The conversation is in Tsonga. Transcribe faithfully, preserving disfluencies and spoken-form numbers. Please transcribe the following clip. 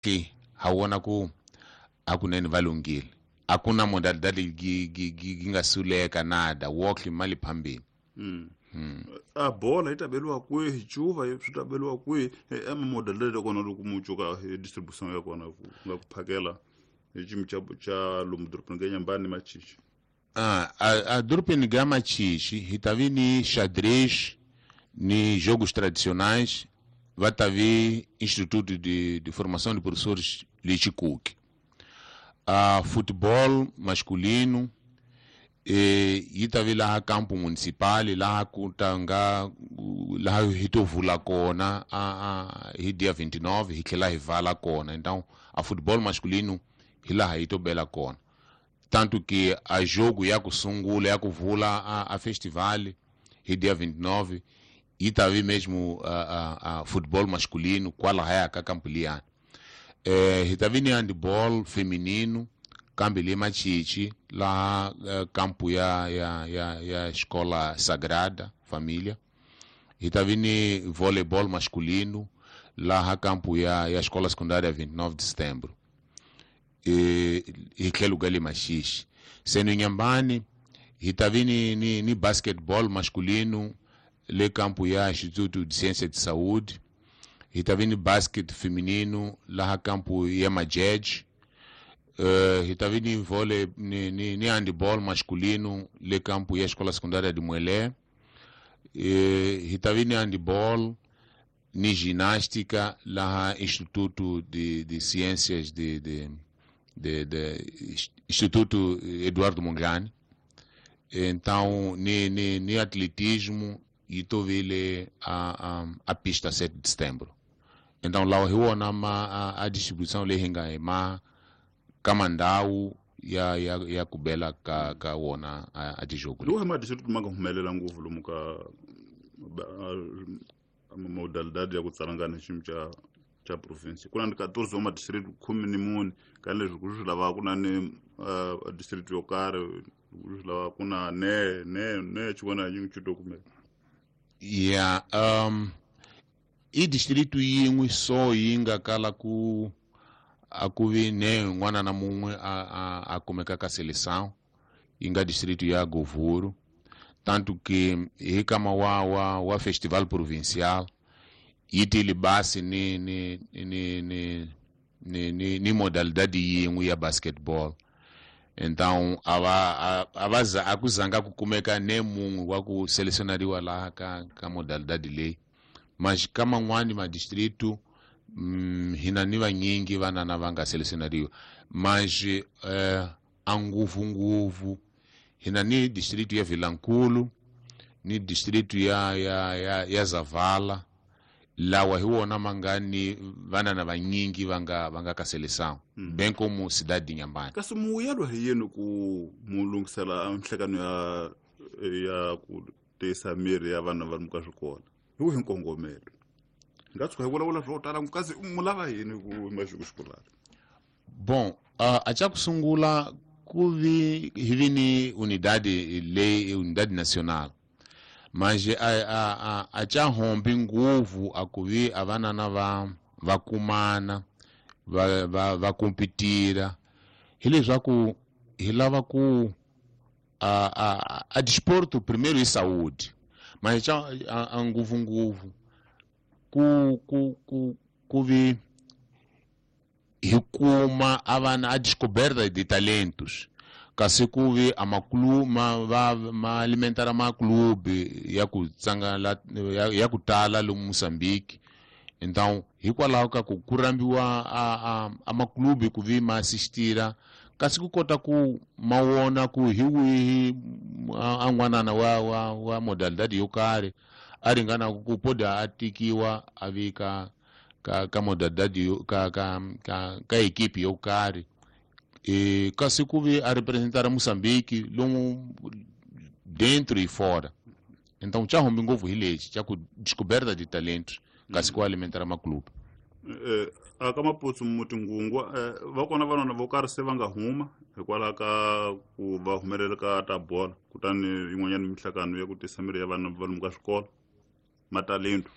Ha vona ku hakunene va lunghile, a ku na modalidade gi nga suleka nada, wokli mali phambili. Mm. Mm. A bola yi ta beliwa kwihi, cuva swi ta beliwa kwihi, e modalidade ya kona loko mu cuka distribution ya kona ku nga ku phakela hi xiyimo xa xa lomu dorobeni ka Nyambani Machichi. Ah, a, a dorobeni ga Machichi hi ta vi ni xadrez ni jogos tradicionais, va ta vi Instituto de, de Formação de Professores Lichikuki. A futebol masculino e yi ta vi laha campo municipal, laha ku ta nga laha hi to vula kona a, a hi dia vinte e nove hi tlhela hi vala kona. Então a futebol masculino hi laha yi to bela kona, tanto que a jogo ya ku sungula ya ku vula a, a festival hi dia vinte e nove yi ta vi mesmo a, a, a futebol masculino kwalahaya ka campo liyani. Eh, hi ta vi ni handball feminino kambe le Machichi laha campo ya ya ya ya Escola Sagrada Família. Hi ta vi ni voleibol masculino laha campo ya ya Escola Secundária vinte e nove de Setembro. E hi tlhelo ka le Machichi. Seno Nyambani hi ta vi ni, ni, ni basketball masculino le campo ya Instituto de Ciência de Saúde. Hi ta vi ni basket feminino laha campo ya Majej. Uh, hi ta vi ni vôlei ni, ni, ni handball masculino le campo ya Escola Secundária de Muelé. Uh, hi ta vi ni handball ni ginástica laha Instituto de, de Ciências de, de, de, de Instituto Eduardo Mondlane. Então ni, ni, ni atletismo e to vile a, a, a pista sete de setembro. Então lá hi wona ma a, a distribuição leyi hi nga hi ma ka mandhawu ya ya ya ku bela ka ka wona a, a tijogo. Lowu ma district ma nga humelela ngopfu lomu ka modalidade ya ku tsalangana xiyimo xa xa province. Ku na ni quatorze wa ma-district khume ni mune, ka leswi ku swi lava ku na ni uh, district yo karhi ku swi lava ku na ne ne ne xin'wana xi xi to kumeka. Yeah, um i distrito yin'we so yi nga kala ku a ku vi ne n'wana na mun'we a a a kumeka ka seleção, yi nga distrito ya Govuro, tanto que hi kama wa wa wa festival provincial yi tile basi ni ni ni ni ni ni, ni modalidade yin'we ya basketball. Então a va a va a ku zanga ku kumeka ne mun'we wa ku selecionariwa laha ka ka modalidade leyi. Mas ka man'wani ma distrito mm, hina ni vanyingi vanana va nga selecionariwa, mas eh, a ngopfungopfu hina ni distrito ya Vilankulu ni distrito ya ya ya, ya Zavala, lawa hi wona ma nga ni vanana vanyingi va nga va nga ka seleção, mm. bem como cidade de Inhambane. Kasi muyelo hi yini ku mu lunghisela nhlekano ya ya ku tiyisa miri ya vana va ri ka swikolo hi wihi nkongomelo? Nga tshuka hi vulavula swo tala kasi mu lava yini ku maxuku xikolani? Bom, uh, a xa ku sungula ku vi hi vi ni unidade leyi unidade nacional, mas a a a a xa hombi ngopfu a ku vi a vanana va va kumana va va va competira, hileswaku hi lava ku a a a desporto primeiro e saúde, mas xa a ngopfungopfu ku ku ku ku vi hi kuma a vana a descoberta de talentos, kasi ku vi a maklu ma va ma alimentar ma clube ya ku tsanga la ya, ya ku tala lomu Moçambique. Então hikwalaho ka ku ku rambiwa a a, a maklube ku vi ma assistira, kasi ku kota ku ma wona ku hi wihi a n'wanana wa wa wa modalidade yo karhi a ringana ku poda a tikiwa a vi ka ka ka modalidade yo ka ka ka ka equipe yo karhi, e kasi ku vi a representar Moçambique lomu dentro e fora. Então xa humbi ngopfu hi lexi xa ku descoberta de talentos, kasi ku alimentar maklube. Eh, a ka maputsu mutingungwa va kona vanwana vo karhi se va nga huma hikwalaho ka ku va humelela ka ta bola, kutani yin'wanyana minhlangano ya ku tisa miri ya vanhu va lomu ka swikolo matalento.